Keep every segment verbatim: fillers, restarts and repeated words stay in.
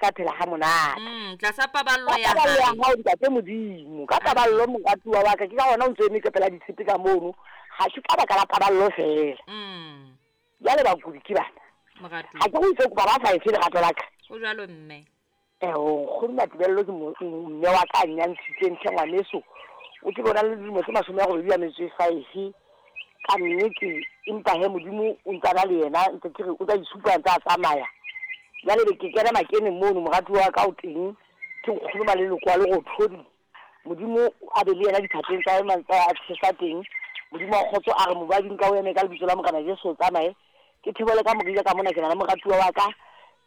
Ka phela ha monate. Mm, tlasa paballo Ka ya paballo ya hae. hao ntate Modimo, ka paballo moratuwa wa ka, ke ka hona o ntso eme ka pela ditshepe ka mono, ha se ka baka la paballo feela. Mm. Jwale bakudi ke bana. Moratuwa. Ha ke go itse kopa ba sa efe lerato la ka. Ho jwalo mme. Eh, nkgono Matebello ke mo- mme wa ka a nnyantshitseng tlhe ngwaneso. O tsebe o na le dilemo tse mashome a robedi a metso e five. Ka nnete, empa he Modimo o ntsa na le yena, ntse ke re o tla itshupa a ntse a tsamaya. Jwale be ke kena makeneng mono, moratuwa wa ka o teng, ke nkgono Maleloko wa Lerothodi. Modimo a be le yena diphatleng tsa hae mantse a tjhesa teng. Modimo wa kgotso a re mobading ka o eme ka lebitso la Morena Jesu o tsamaye. Ke thibele ka morija ka mona, ke na le moratuwa wa ka,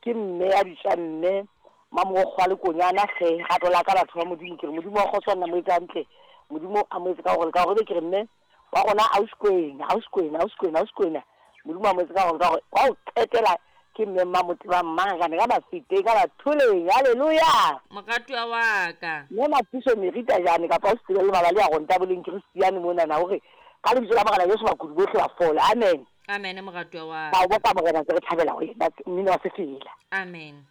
ke mme ya bitswa mme Mamorokgo wa Lekonyana hle, rato la ka batho ba Modimo, ke re Modimo wa kgotso a nna mo etse hantle. Modimo a mo etse ka hore le ka hore, ebe ke re mme wa rona ausi Kwena, ausi Kwena, ausi Kwena, ausi Kwena. Modimo a mo etse ka hore le ka hore, wa ho qetela ke mme Mmamoteba Mmangakane ka Mafeteng, ka Bathuleng. Hallelujah. Moratuwa wa ka. Mme Mathiso Merita jane kapa o se tsebe le mabali a ronta boleng Christian mona na hore ka lebitso la Morena Jesu bakudi bohle ba fole. Amen. Amen moratuwa wa Ba ka. o bopa Morena ntse re thabela ho yena mmino wa sefela. Amen.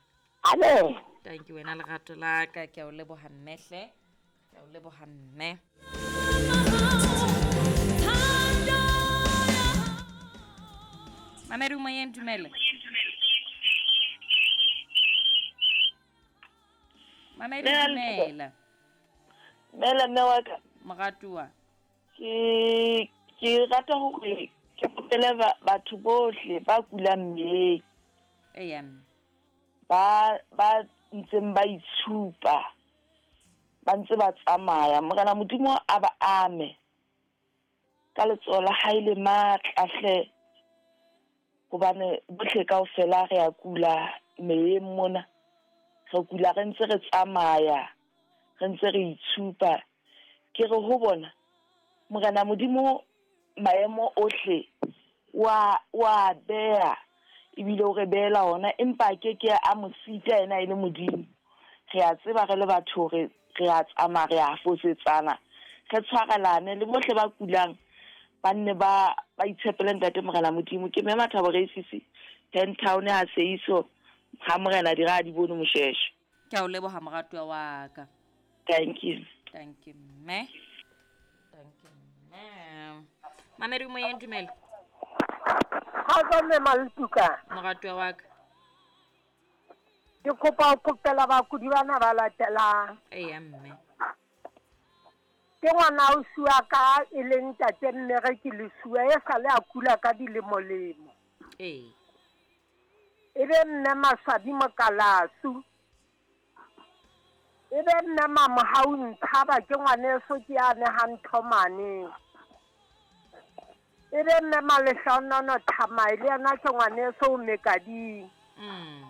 Amen. Thank you wena lerato la ka, ke a o leboha mme hle. Ke a o leboha mme. Mamedi moyeng, dumela. Mamedi, Dumela. dumela. Dumela mme wa ka. Moratuwa. Ke, ke rata hore ke kopele ba-, batho bohle ba kulang mmeleng. Eya mme. Ba, ba ntseng ba itshupa, ba ntse ba tsamaya. Morena Modimo a ba ame ka letsoho la hae le matla hle, hobane bohle kaofela re a kula meyeng mona. Re kula re ntse re tsamaya, re ntse re itshupa. Ke re ho bona, Morena Modimo maemo ohle wa, wa beha, ebile o re behela ona, empa a ke ke a mo sita yena e le Modimo. Re a tseba re le batho hore re a tsamaya, re a fosetsana, re tshwarelane le bohle ba kulang, ba nne ba, ba itshepele Ntate Morena Modimo. Ke mme Mathabo Reisisi, Ten Town ha Seiso, ha Morena dira a di bone Mosheshe. Ke a o leboha moratuwa wa ka. Thank you. Thank you mme. Thank you mme. Mamedi moyeng, dumela. Kgotso mme Maltuka. Moratuwa wa ka. Ke kopa ho kopela bakudi bana ba latelang. Eya mme. Ke ngwana ausi wa ka e leng ntate Mmereki Lesuwe, e sale a kula ka dilemolemo. Ee. E be mme Maswabi Mokalasu. E be mme Mamohau Nthaba, ke ngwaneso ke ya nehang Thomane. E be mme Malehlonono Thamae, le yena ke ngwaneso o Mekading. Mm.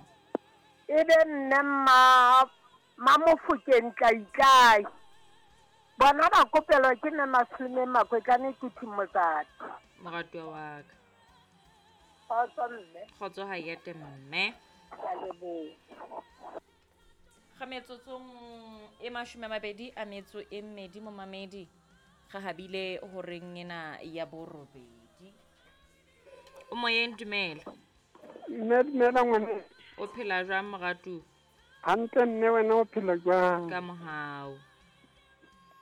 E be mme ma-, Mamofokeng Tlaitlai. Bona ba kopelwa ke mme Maseleme Makwetlane Kuthi Motsadi. Moratuwa wa ka. Kgotso mme. Kgotso ha yete mme. Ke a leboha. Ga metsotsong e mashome a mabedi a metso e mmedi momamedi, re habile horeng ena ya borobedi. O moyeng, dumela. Mme dumela ngwane. O phela jwang moratuwa? Hantle mme, wena o phela jwang? Ka mohau.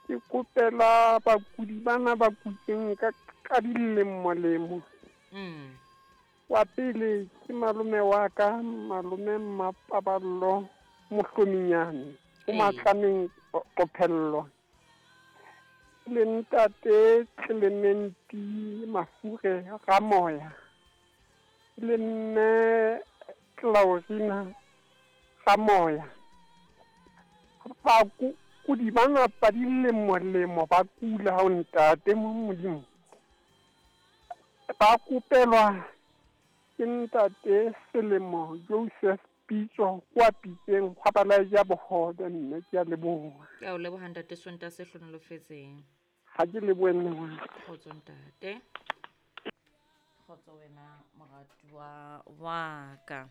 Ke kopela bakudi bana ba kutseng ka, ka dilemolemo. Mm. Wa pele ke malome wa ka, malome Mmapaballo Mohlominyane, o Ee. Matlameng Qophello. Le ntate Clementi Mafure Ramoya. Le mme Claudina Ramoya. Ba ku-, kudi bana ba dilemolemo ba kula ha o ntate mo Modimo. Ba kopelwa ke ntate Selemo Joseph Pitso kwa Pitseng, gwa ba laetša bogobe mme, ke a leboha. Ke a o leboha ntate Sonta se hlonolofetseng. Ha ke lebohe mme wa ka. Kgotso ntate. Kgotso wena moratuwa wa ka.